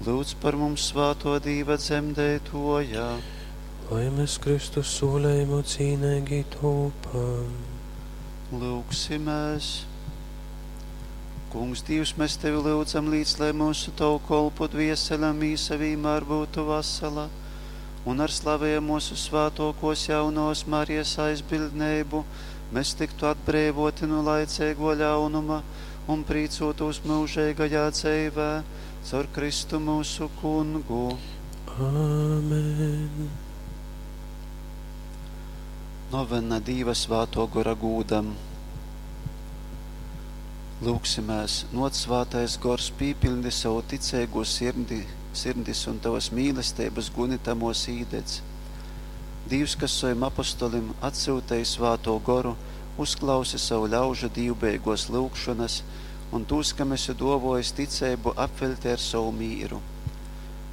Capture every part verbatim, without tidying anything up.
Lūdz par mums svātō Dīva dzemdeitōja. Lai mēs Kristus sūlējumu cīneigi tūpam. Lūgsimēs. Kungs, Dīvs, mēs Tevi lyudzam līdz, lai mūsu Tavu kolpu dviesele un mīsa vīmēr būtu vasala, un ar slavēju mūsu svātokos jaunos Marijas aizbildneibu mēs tiktu atbrīvoti no laicīgo ļaunuma un prīcotos mūžīgajā dzīvē caur Kristu mūsu kungu. Āmen. Novena Dīva svāto gora gūdam. Lūgsimēs, noc svātais gors, pīpildi savu ticīgo sirdi, sirdis un tavas mīlestības guni tamos īdedz. Dīvs, kas saviem apostolim atsūtīja svāto goru, uzklausi savu ļaužu dīvbeigos lūgšanas un tūs, kam esi dovojis ticību, apveļti ar savu mīru.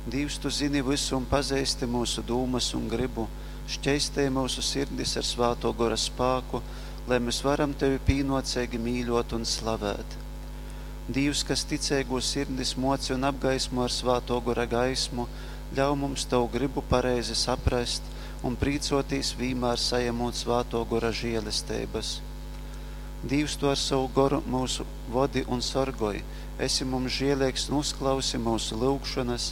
Dīvs, tu zini visu un pazīsti mūsu dūmas un gribu, šķeistē mūsu sirdis ar svāto gora spāku, lai mēs varam tevi pīnocīgi mīļot un slavēt. Dīvs, kas ticīgo sirdis moci un apgaismo ar svāto gora gaismu, ļauj mums tavu gribu pareizi saprast un prīcotīs vīmēr sajamot svāto gora žēlestības. Dīvs, tu ar savu goru mūsu vodi un sorgoj, esi mums žēlīgs un uzklausi mūsu lūgšanas,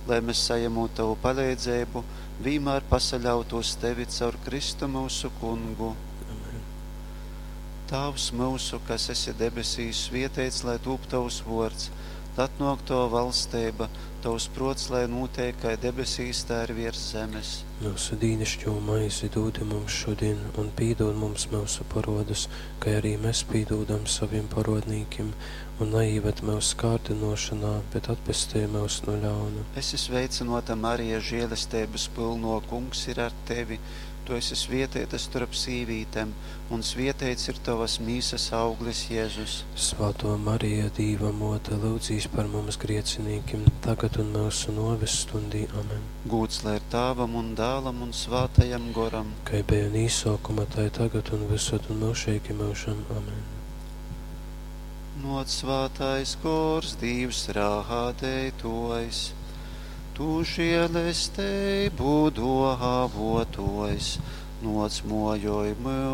lai mēs sajamot tavu palīdzību, vīmēr pasaļautos tevi caur Kristu mūsu kungu. Amen. Tavs mūsu, kas esi debesīs, svietēts, lai tūp tavs vords, tad nāk tava valstība, tavs prots, lai notiek, kā debesīs, tā ir virs zemes. Mūsu dīnišķo maizi dūdi mums šodien, un pīdod mums mūsu parodus, kā arī mēs pīdūdam saviem parodnīkim, un neīved mūsu kārdinošanā, bet atpestī mūs no ļauna. Esi sveicinota Marija, žēlestības pilno, kungs ir ar tevi. Tu esi svietēta starp sīvītēm, un svietēts ir tavas mīsas auglis Jēzus. Svētā Marija, Dīva mote, lūdzīs par mums griecinīkim, tagad un mūsu noves stundī. Amen. Gūts lai ir tāvam un dālam un svātajam goram. Kai bija un īsākuma, tai tagad un visur un mūžīgi mūžam. Amen. Noc svātais gors, Dīvs rādētojs, tu žēlestību dāvotojs, noc mojoj mūs